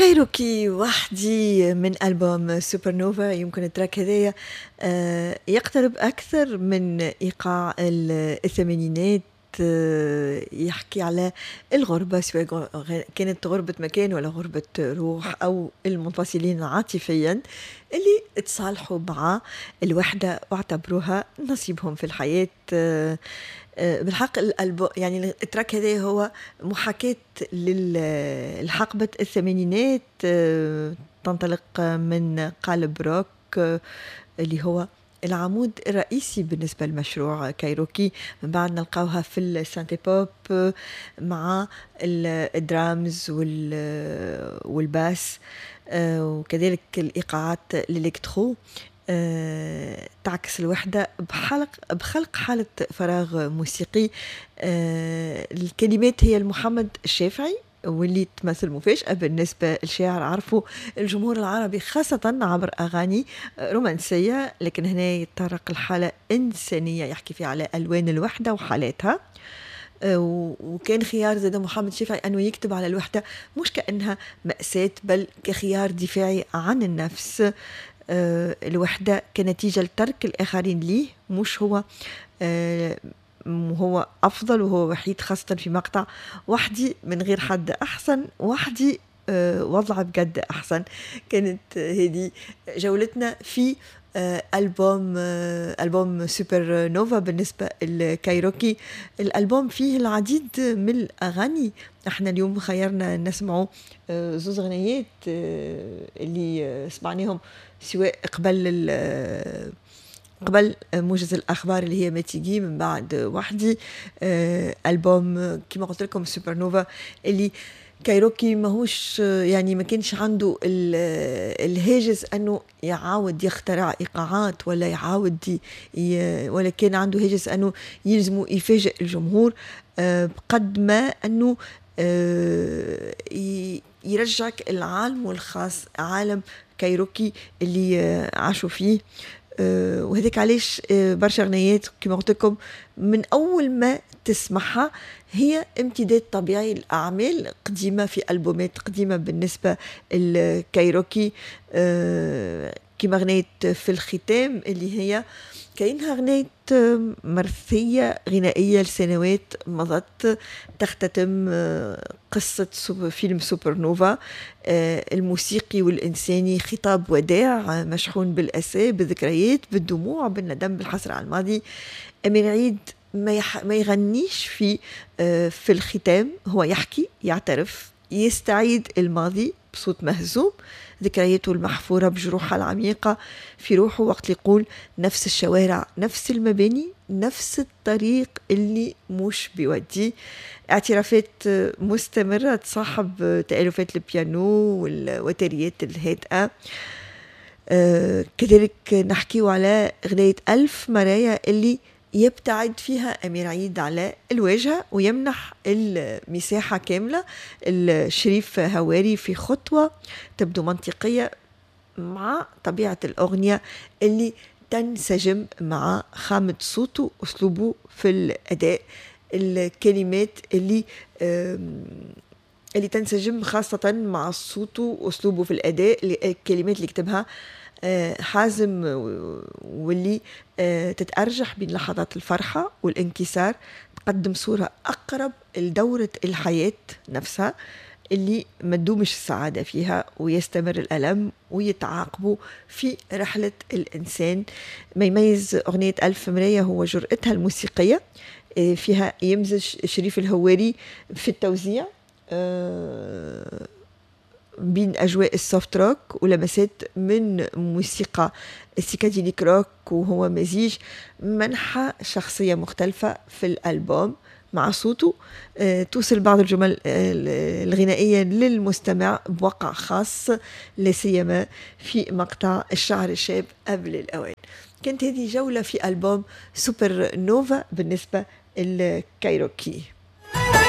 كايروكي وحدي من ألبوم سوبر نوفا. يمكن ال track هذايا يقترب أكثر من إيقاع الثمانينات، يحكي على الغربة، سواء كانت غربة مكان ولا غربة روح، أو المنفصلين عاطفيا اللي تصالحوا مع الوحدة واعتبروها نصيبهم في الحياة. بالحق الألبوم، يعني ال track هذا هو محاكاة للحقبة الثمانينات، تنطلق من قالب روك اللي هو العمود الرئيسي بالنسبة لمشروع كايروكي. من بعد نلقاوها في ال synthé pop مع الدرامز وال basse، وكذلك الإيقاعات ال électro، تعكس الوحدة بخلق حالة فراغ موسيقي. الكلمات هي لمحمد الشافعي، واللي تمثل مفاجأة بالنسبة للشاعر عرفوا الجمهور العربي خاصة عبر أغاني رومانسية، لكن هنا يتطرق الحالة إنسانية، يحكي فيها على ألوان الوحدة وحالاتها. وكان خيار زاد محمد الشافعي أنه يكتب على الوحدة مش كأنها مأساة، بل كخيار دفاعي عن النفس. الوحدة كنتيجة لترك الآخرين ليه، مش هو هو أفضل وهو وحيد، خاصة في مقطع وحدي من غير حد أحسن، وحدي وضع بجد أحسن. كانت هذه جولتنا في ألبوم سوبر نوفا بالنسبة للكايروكي. الألبوم فيه العديد من الأغاني، احنا اليوم خيرنا نسمعوا زوز غنيات اللي سمعناهم سواء قبل موجز الأخبار اللي هي ما تيجي، من بعد وحدي. ألبوم كما قلت لكم سوبر نوفا اللي كايروكي ماهوش، يعني ما كانش عنده الهاجس انه يعاود يخترع ايقاعات ولا يعاود ولا كان عنده هاجس انه يلزمه يفاجئ الجمهور، بقد ما انه يرجعك العالم الخاص، عالم كايروكي اللي عاشوا فيه. وهذاك علاش برشا غنيات كما قلت لكم من اول ما تسمعها هي امتداد طبيعي لأعمال قديمة في ألبومات قديمة بالنسبة للكايروكي، كما غنيت في الختام اللي هي كأنها غنية مرثية غنائية لسنوات مضت، تختتم قصة فيلم سوبر نوفا الموسيقي والإنساني، خطاب وداع مشحون بالأسى، بالذكريات، بالدموع، بالندم، بالحسرة على الماضي. أمير عيد ما يغنيش في الختام، هو يحكي، يعترف، يستعيد الماضي بصوت مهزوم، ذكرياته المحفورة بجروحها العميقة في روحه، وقت يقول نفس الشوارع، نفس المباني، نفس الطريق اللي مش بيودي. اعترافات مستمرة تصاحب تألفات البيانو والوتريات الهادئة. كذلك نحكيو على غناية ألف مرايا اللي يبتعد فيها أمير عيد على الواجهة ويمنح المساحة كاملة الشريف هواري في خطوة تبدو منطقية مع طبيعة الأغنية اللي تنسجم مع خامة صوته، أسلوبه في الأداء، الكلمات اللي تنسجم خاصة مع صوته وأسلوبه في الأداء، الكلمات اللي كتبها حازم واللي تتأرجح بين لحظات الفرحة والانكسار، تقدم صورة أقرب لدورة الحياة نفسها اللي ما تدومش السعادة فيها ويستمر الألم ويتعاقبوا في رحلة الإنسان. ما يميز أغنية ألف مراية هو جرأتها الموسيقية، فيها يمزج شريف الهواري في التوزيع بين أجواء ال soft rock ولمسات من موسيقى ال psychedelic rock، وهو مزيج منحى شخصية مختلفة في الألبوم مع صوته. توصل بعض الجمل الغنائية للمستمع بوقع خاص، لا سيما في مقطع الشعر الشاب قبل الأوان. كانت هذه جولة في ألبوم سوبر نوفا بالنسبة للكايروكي.